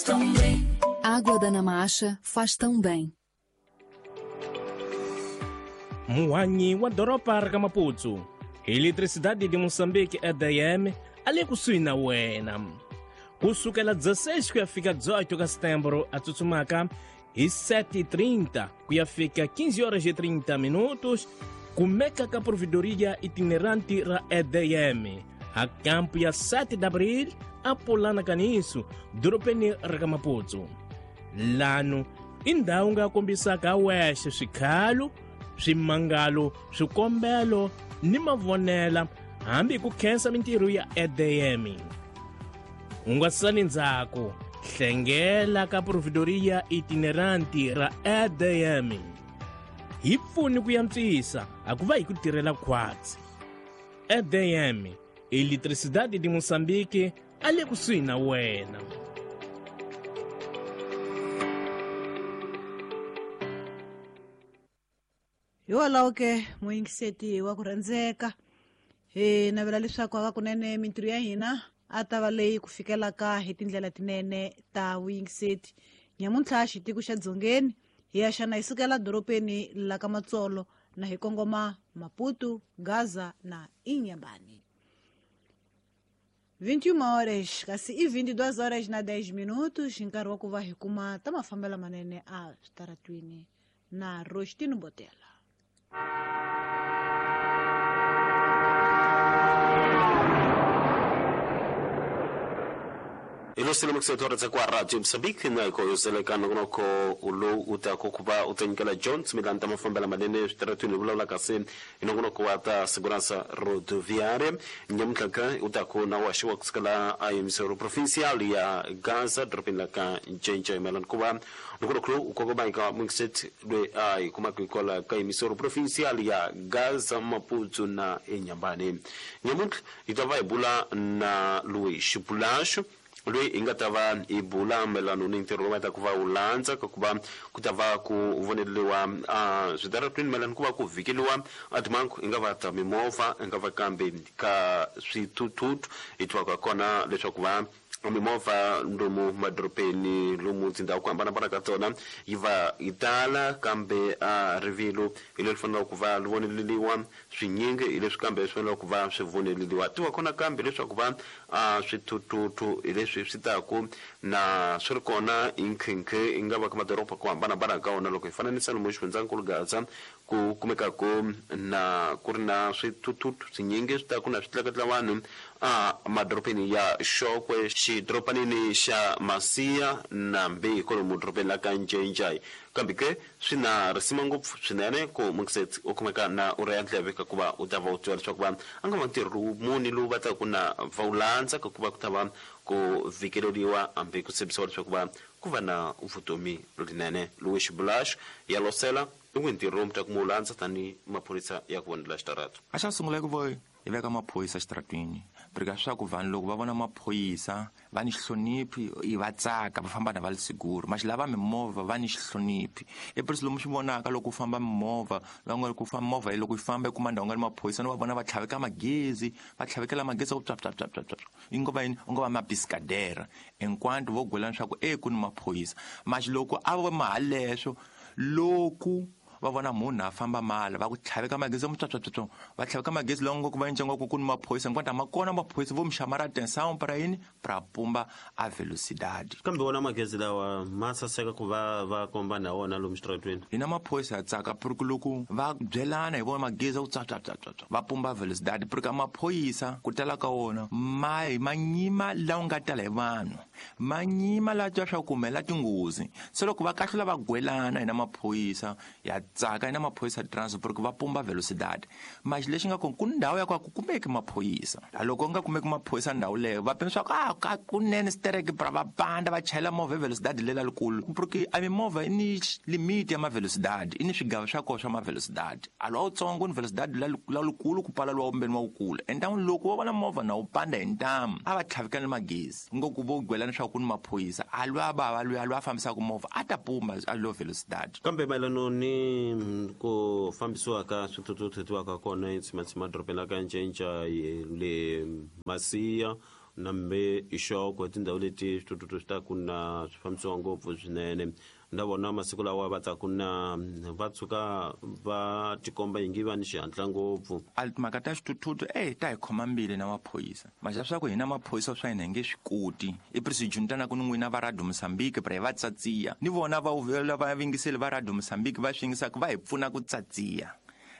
Tão bem. Água da Namacha faz tão bem. Muhanyi wa doroba ra ka Maputo, Eletricidade de Moçambique EDM a le kusuhi na wena. Ku sukela 16 ku ya fika 18 ka setembro a tsutsumaka hi 7:30 ku ya fika 15 horas e 30 minutos, kumeka ka provedoria itinerante ra EDM a campo ya 7 de abril a Polana Caniço, dorobeni ra ka Maputo. Lano i ndhawu nga kombisaka wexe swikhalo, swimangalo, swikombelo ni mavonela hambi ku khensa mintirho ya EDM. U nga sali ndzhaku, hlengela ka provedoria itinerante ra EDM. Hi pfuni ku yantswisa a ku va hi ku tirhela khwatsi. EDM, Eletricidade de Moçambique, a le kusuhi na wena. Hikwalaho ke muyingiseti wa ku rhandzeka, hi navela leswaku hakunene mintirho ya hina a ta va leyi ku fikelaka hi tindlela tinene ta vuyingiseti. Nyamuntlha xitiko xa Dzongeni hi ya xana hi sukela dorobeni la ka Matsolo na hi kongoma Maputo, Gaza na Inhambane. 21 horas, kasi i 22 horas na 10 minutos, nkarhi wa ku va hi kuma ta mafambelo manene a switaratwini na Rostino Botela. Ilosile mukusetora tsa kwa Radio Mozambique na iko yoseleka nongonoko lowu u ta ku va u ta nyikela John Smilani ta mafambela manene switaratwini vulavula kasi hi nongonoko wa ta segurança rodoviária. Nyamuntlha ka u ta ku na wa xiwa kusukela a emissoro provincial ya Gaza dorobeni la ka Ncence mayelana ku va nongonoko lowu u kongoma eka Mixet loyi a hi kumaka hikwalaho ka emissoro provincial ya Gaza, Maputo na Inhambane. Nyamuntlha hi ta va hi bula na Luis Bulacho loyi hi nga ta va hi bula mayelana ni ntirho lowu va ta ku va wu landza ka ku va ku ta va ku voneriwa switaratwini mayelana ku va ku vhikeliwa a timhangu hi nga va ta mimovha hi nga va kambe ka swithuthuthu hi tivaka kona leswaku va mimovha lomu madorobeni lomu tindhawu ku hambanahambana ka tona yi va yi tala kambe a rivilo hi leri faneleke ku va ri voneleriwa swinyingi hi leswi kambe swi faneleke ku va swi voneleriwa tiva kona kambe leswaku va swithuthuthu hi leswi swi taku na swi ri kona hi nkhinkhi yi nga va ka madoroba ku hambanahambana ka wona loko hi fananisa lomu xifundzankulu Gaza ku kumekaku na ku ri na swithuthuthu swinyingi swi taku na swi tleketla vanhu a madorobeni ya Xokwe, xidorobanini xa Masiya na Mbeyi kwalomu dorobeni la ka Ncencai. Kambe ke swi na risima ngopfu swinene ku Mungset u kumeka na u rheya ndleve ka ku va u ta va u tiva leswaku va a nga va ntirho lowu muni lowu va taku na va wu landza ka ku va ku ta va ku vhikeleriwa hambi ku tshembisiwa leswaku va ku va na vutomi lerinene. Louis Bulash ya losela i n'wi ntirho lowu mi ta ku mu wu landza tanihi maphorisa ya ku vonela xitarata. A xa sungula i ku va hi veka maphorisa xitaratwini porque swa ku vanhu loko va vona maphorisa va ni xihloniphi i va tsaka va famba na va li siguro maxi lava mimovha va ni xihloniphi i presi lomu swi vonaka loko u famba mimovha la nga ku famba movha loko yi famba i kuma ndhawu nga ni maphorisa no va vona va tlhaveka magezi va tlhavekela magezi ku pya pya pya pya pya i ngo va yini u ngo va mabisikadera hinkwanto vo gwelana swa ku e ku ni maphorisa maxi loko a va mahaleswo loku va vona munhu a famba mala va ku tlhaveka magezi mutswatswatswatswa va tlhaveka magezi lawa ngopfu va endla ngopfu ku ni maphorisa hinkwato a ma kona maphorisa vo mi xamara atenção para yini para pumba a velocidade. Kambe wona magezi lawa ma saseka ku va va komba na wona lomu xitaratweni. Hina maphorisa ya tsaka porque loko va byelana hi vona magezi ku tswatswatswatswa va pumba velocidade porque a maphorisa ku tala ka wona ma ma nyima lawa nga tala hi vanhu ma nyima la twa swa ku humelela tinghozi se loko va kahlula va gwelana hina maphorisa ya tsaka hina maphorisa transport porque va pumba velocidade maxi lexi nga kona ku ndhawu ya ku a ku kumeki maphorisa loko nga kumeki maphorisa ndhawu leyo va pima swa ku a ka kunene stereke pra va panda va chayela movha hi velocidade lela likulu porque a mimovha yi ni limit ya mavelocidade i ni swigava swa kona swa mavelocidade a lowa wutsongo ni velocidade la likulu ku pala lowa vumbeni wa wukulu entan'wini loko va vona movha na wu panda hi ntamu a va tlhavikana magezi ngopfu vo gwelana swa ku ni maphorisa a lwa bava lwiya lwa fambisaka movha a ta pumba a lo velocidade. Kambe mayelano ni ku fambisiwa ka swithuthuthu tiwaka kona etsimatsima dorobeni la ka Ncenca le Masiya Nambe ixoko tindhawu leti swithuthuthu swi ta ku na swi fambisiwa ngopfu swinene. Na vona masiku lawa va ta ku na va tshuka va tikomba ingi va ni xihatla ngopfu. A timhaka ta xithuthuthu ta hi khoma mbili na maphorisa. Maxa swa ku hina maphorisa swa hina hi nge swi koti. I presijuntana ku ni n'wina va Radio Mozambique pra hi va tsatsiya. Ni vona va va yingiseli va Radio Mozambique va swi yingisaka va hi pfuna ku tsatsiya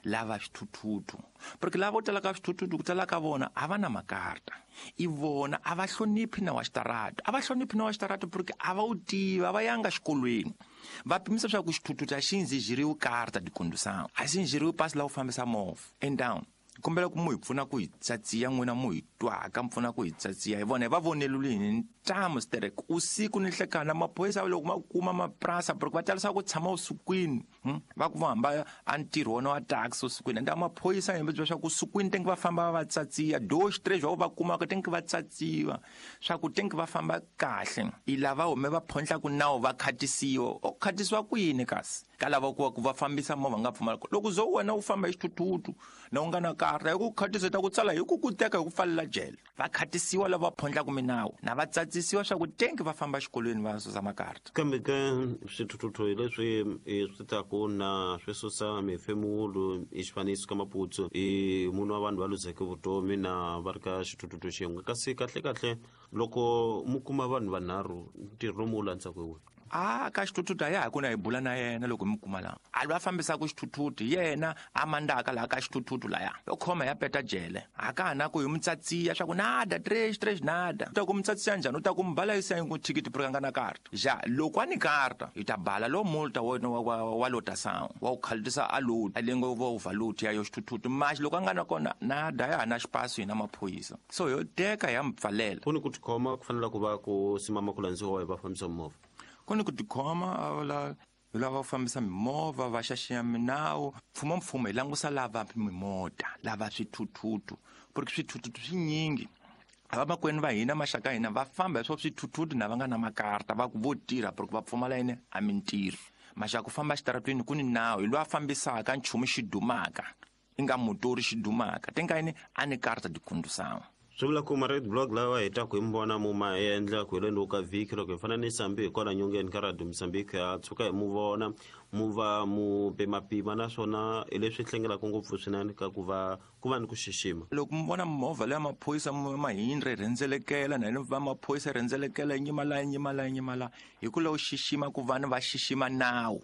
lava swithuthuthu. Porque lava vo tala ka swithuthuthu ku tala ka vona a va na makarta. I vona a va hloniphi na wa xitarata. A va hloniphi na wa xitarata porque a va wu tivi, a va yanga xikolweni. Va pimisa swa ku xithuthuthu a xi ndzijiriwi karta di condução. A xi ndzijiriwi pasi la ku fambisa movha. And down. Kombela ku mu hi pfuna ku hi tsatsiya n'wina mu hi twaka, mi pfuna ku hi tsatsiya. Hi vona hi va vonelile hi ntamu sterek. Usiku ni nhlekani maphorisa loko ma kuma maprasa porque va talisa ku tshama usikwini. Va ku va hamba a ntirho wona wa taxi usikwini. Ende maphorisa hi byela swa ku usikwini tengi va famba va tsatsiya. Dois, tres va kumaka tengi va tsatsiwa. Swa ku tengi va famba kahle. I lava hume va phondla ku nawu va khatisiwa. O khatisiwa kwini kasi? Ka lava ku va fambisa movha nga pfumala. Loko zo wena u famba hi xithuthuthu na u nga na karta hi ku khatisa ta ku tsala hi ku ku teka hi ku pfalela jele. Va khatisiwa lava phondlaka minawu na va tsatsisiwa swa ku tengi va famba xikolweni va susa makarta. Kambe ke swithuthuthu hi leswi swi ta ku na swi susa mifemulo i xifaniso ka Maputsu i munhu wa vanhu va luzeke vutomi na va ri ka xithuthuthu xin'we. Kasi kahle kahle loko mu kuma vanhu vanharhu ntirho lomu wu landzaka hi wihi? A ka xithuthuthu a ya ha ku na hi bula na yena loko hi mu kuma laha. A lwa fambisaka xithuthuthu yena a mandaka laha ka xithuthuthu laya. Yo khoma ya peta jele. A ka ha na ku hi mu tsatsiya swa ku nada, tres, tres, nada. U ta ku mu tsatsiya njhani? U ta ku mu bala yisa hi ku thikithi porque a nga na karta. Ja, loko a ni karta, hi ta bala lo multa wa wa lotação. Wa ku khalutisa a load, a lengo va overload ya yo xithuthuthu. Mas loko a nga na kona, nada ya ha na xipaso hina maphorisa. So yo teka ya mu pfalela. Ku ni ku tikhoma ku fanele ku va ku simama ku landziwa hi vafambisi va mimovha. Ku ni ku tikhoma la lava va fambisa mimovha va xaxiya minawu. Mfumo mfumo hi langusa lava mimota, lava swithuthuthu, porque swithuthuthu swinyingi. Vamakwenu va hina maxaka hina va famba hi swo swithuthuthu na va nga na makarta va ku vo tirha porque va pfumala yini a mintirho. Maxaka ku famba xitaratweni ku ni nawu hi loyi a fambisaka nchumu xi dumaka, i nga motori xi dumaka, tenga yini a ni karta di condução. Swi vula ku ma-red block lawa hi ta ku hi mi vona mu ma endla ku heleni ka vhiki loko hi fananisa hambi hi kwala nyongeni ka Radio Mozambique ha tshuka hi mu vona mu va mu pimapima naswona hi leswi hlengelaka ngopfu swinene ka ku va ku va ni ku xixima. Loko mi vona movha leya maphorisa mahindra yi rhendzelekela na va maphorisa yi rhendzelekela nyima la nyima la nyima la hi ku lava xixima ku vanhu va xixima nawu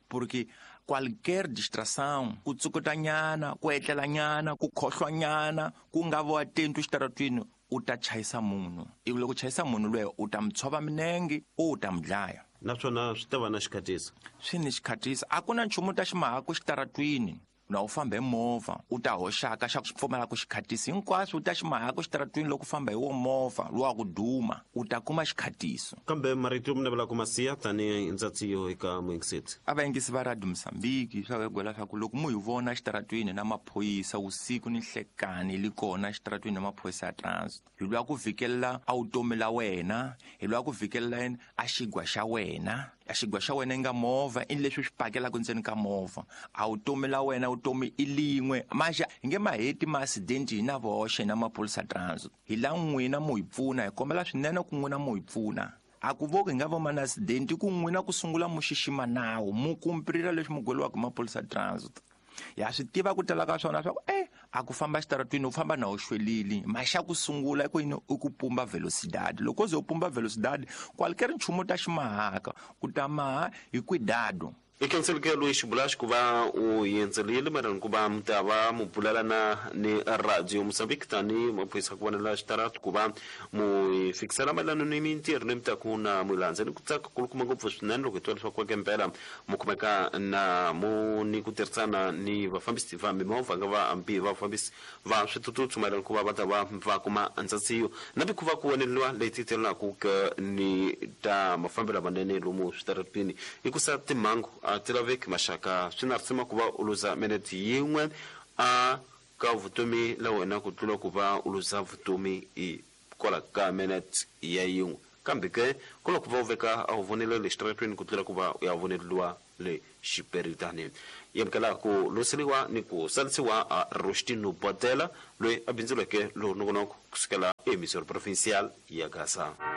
porque qualquer distração ku tsukutanyana ku etlelanyana ku khohlwanyana ku nga vo atento xitaratwini u ta chayisa munhu. Ivi loko chayisa munhu loyi u ta mu tshova minenge u ta mu dlaya. Naswona swi ta va na xikhatisa. Swi ni xikhatisa. A ku na nchumu ta ximahaku xitaratwini. Na u famba hi movha u ta hoxaka xa ku pfumala ku xikhatisi hinkwaswo u ta ximahaku xitaratwini loko u famba hi wo movha lowa ku duma u ta kuma xikhatiso. Kambe marito mi navela ku ma siya tanihi ndzatsiyo eka muyingiseti. A vayingisi va Radio Mozambique swa ku gwela swa ku loko mu hi vona xitaratwini na maphorisa usiku ni nhlekani li kona xitaratwini na maphorisa ya transit hi lwa ku vhikelela a vutomi la wena, hi lwa ku vhikelela yini a xigwa xa wena. A xigwa xa wena i nga movha i leswi swi pakelaka ndzeni ka movha. A vutomi la wena vutomi i lin'we. Maxa hi nge ma heti ma-accident hi na voxe na maphorisa transit. Hi la n'wina mu hi pfuna, hi kombela swinene ku n'wina mu hi pfuna. A ku voki hi nga va ma na accident ku n'wina ku sungula mu xixima nawu, mu kumprira leswi mu gweliwaka hi maphorisa transit. Ya swi tiva ku tala ka swona swa ku a ku famba xitaratwini u famba na u xwelile. Maxa ku sungula i ku yini i ku pumba velocidade. Loko ze u pumba velocidade qualquer nchumu ta ximahaka u ta maha hi cuidado. I khenseleke loyi xibulaxi ku va u yendzelile mayelana ku va mi ta va mu bulela na ni Radio Mozambique tani maphorisa ku vonela xitaratu ku va mu fikisela mayelana ni mintirho leyi mi ta ku na mu landza ni ku tsaka kulukumba ngopfu swinene loko hi twa leswaku kweke mpela mu kumeka na mu ni ku tirhisana ni vafambisi va mimovha nga va hambi vafambisi va swithuthuthu mayelana ku va va ta va va kuma ndzatsiyo na mikhuva ku voneliwa leyi titelaka ke ni ta mafambelo lamanene lomu switaratwini hikusa timhangu a ti laveki maxaka swi na risima ku va u luza minete yin'we a ka vutomi la wena ku tlula ku va u luza vutomi hi kwala ka minete ya yin'we kambe ke ku loko va u veka a wu vonela le xitaratwini ku tlula ku va u ya voneliwa Le xiperitani yi amukela ku loseriwa ni ku salisiwa a Rostino Botela, loyi a bindzuleke lowu nongonoko kusukela emisoro provincial ya Gaza.